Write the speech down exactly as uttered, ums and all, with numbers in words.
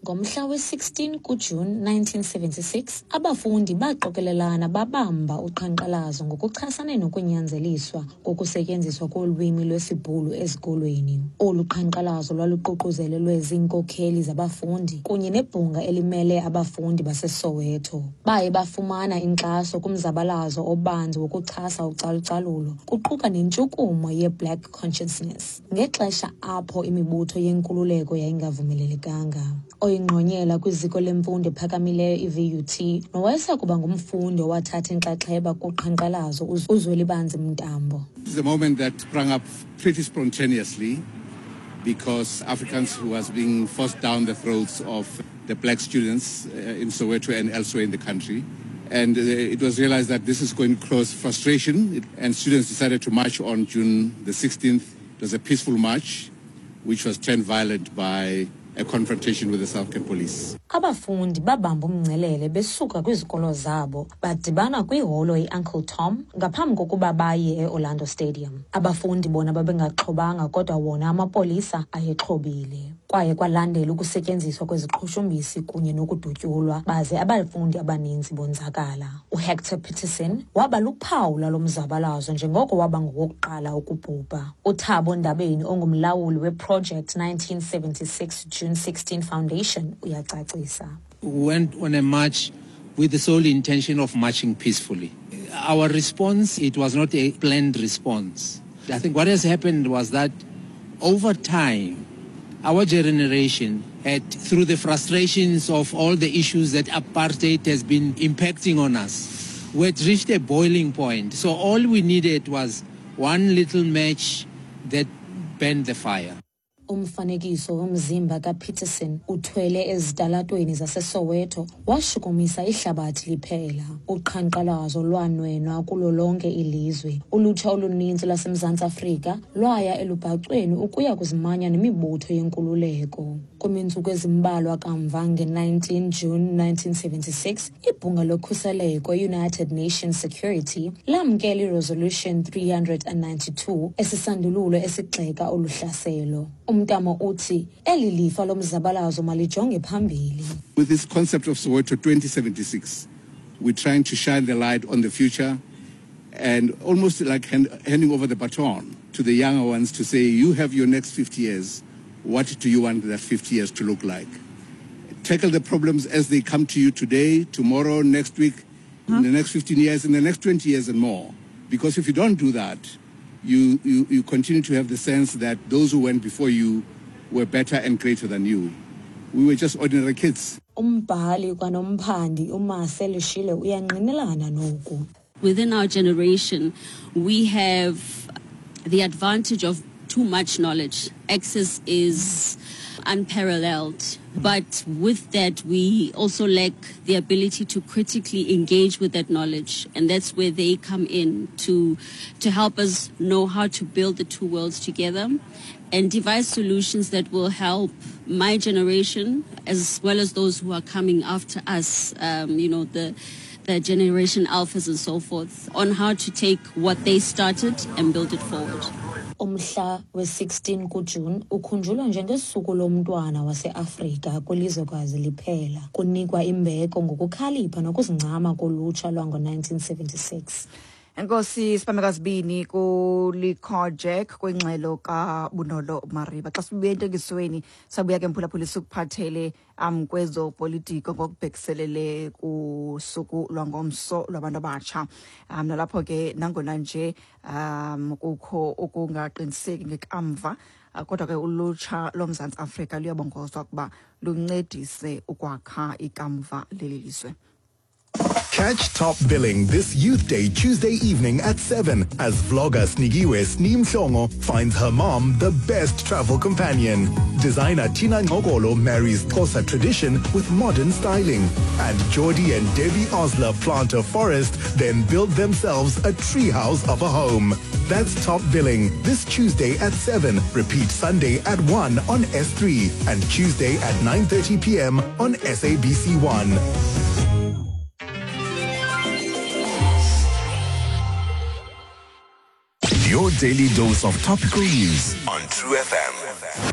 Ngomhla we-sixteen kuJuni nineteen seventy-six, abafundi baqokelelana babamba uqhankqalazo ngokuchasene nokunyanzeliswa kokusetyenziswa kolwimi lwesiBhulu ezikolweni. Olu qhankqalazo lwaluququzelelwe ziinkokheli zabafundi kunye nebhunga elimele abafundi baseSoweto. Baye bafumana inkxaso kumzabalazo obanzi wokuchasa ucalucalulo, kuquka nentshukumo ye-Black Consciousness, ngexesha apho imibutho yenkululeko yayingavumelelekanga. Oyingqonyela kwiziko lemfundo ephakamileyo i-V U T nowayesakuba ngumfundi owathatha inxaxheba kuqhankqalazo uZwelibanzi Mntambo. This is a moment that sprang up pretty spontaneously because Afrikaans was being forced down the throats of the black students, uh, in Soweto and elsewhere in the country. And, uh, it was realized that this is going to cause frustration, and students decided to march on June the sixteenth. It was a peaceful march, which was turned violent by a confrontation with the South African police. Abafundi babamba umngcelele besuka kwizikolo zabo badibana kwiholo iUncle Tom ngaphambi kokuba baye eOrlando Stadium. Abafundi bona babengaxhobanga kodwa wona amapolisa ayexhobile. Kwaye kwalandela ukusetyenziswa kweziqhushumbisi kunye nokudutyulwa baze abafundi abaninzi bonzakala. UHector Peterson waba luphawu lalo mzabalazo njengoko waba ngowokuqala ukubhubha. UThabo Ndabeni ongumlawuli weProject nineteen seventy-six June sixteen Foundation uyacacisa. We went on a march with the sole intention of marching peacefully. Our response, it was not a planned response. I think what has happened was that over time, our generation had, through the frustrations of all the issues that apartheid has been impacting on us, we had reached a boiling point. So all we needed was one little match that burned the fire. Umfanekiso womzimba kaPeterson uthwele ezitalatweni zaseSoweto washukumisa ihlabathi liphela. Uqhankqalazo lwanwenwa kulo lonke ilizwe. Ulutsha oluninzi lwaseMzantsi Afrika lwaya elubhacweni ukuya kuzimanya nemibutho yenkululeko. Kwimizuzu ezimbalwa kamva nge-nineteen June nineteen seventy-six, ibhunga lokhuseleko United Nations Security lamkela iResolution three hundred and ninety-two esisandululo esigxeka olu hlaselo. Umntamo uthi eli lifa lomzabalazo malijonge phambili. With this concept of Soweto twenty seventy-six, we're trying to shine the light on the future and almost like hand, handing over the baton to the younger ones to say, you have your next fifty years. What do you want that fifty years to look like? Tackle the problems as they come to you today, tomorrow, next week, huh? in the next fifteen years, in the next twenty years and more. Because if you don't do that, you, you, you continue to have the sense that those who went before you were better and greater than you. We were just ordinary kids. Umbhali kwanomphandi uMarcel Shile uyangqinelana noku. Within our generation, we have the advantage of too much knowledge. Access is unparalleled. But with that, we also lack the ability to critically engage with that knowledge. And that's where they come in to, to help us know how to build the two worlds together and devise solutions that will help my generation as well as those who are coming after us, um, you know, the, the generation alphas and so forth, on how to take what they started and build it forward. Umhla we-sixteen kuJuni ukhunjulwa njengesuku lomntwana waseAfrika kwilizwekazi liphela. Kunikwa imbeko ngokukhalipha nokuzincama kolutsha lwango-nineteen seventy-six. Enkosi Sipamekazibini kuLikhojek kwingxelo kaBunolo Mariba. Xa sibuya entengisweni sabuya ke mphulaphuli sikuphathele um kwezopolitiko ngokubhekiselele kusuku lwangomso lwabantu abatsha. Um nalapho ke nangona nje um kukho ukungaqiniseki ngekamva, kodwa ke ulutsha loMzantsi Afrika luyabongozwa ukuba luncedise ukwakha ikamva leli lizwe. Catch Top Billing this Youth Day, Tuesday evening at seven, as vlogger Snigiwe Sneemhlongo finds her mom the best travel companion. Designer Tina Ngogolo marries Xhosa tradition with modern styling. And Jordi and Debbie Osler plant a forest, then build themselves a treehouse of a home. That's Top Billing this Tuesday at seven. Repeat Sunday at one on S three and Tuesday at nine thirty p m on S A B C one. Your daily dose of topical news on True F M.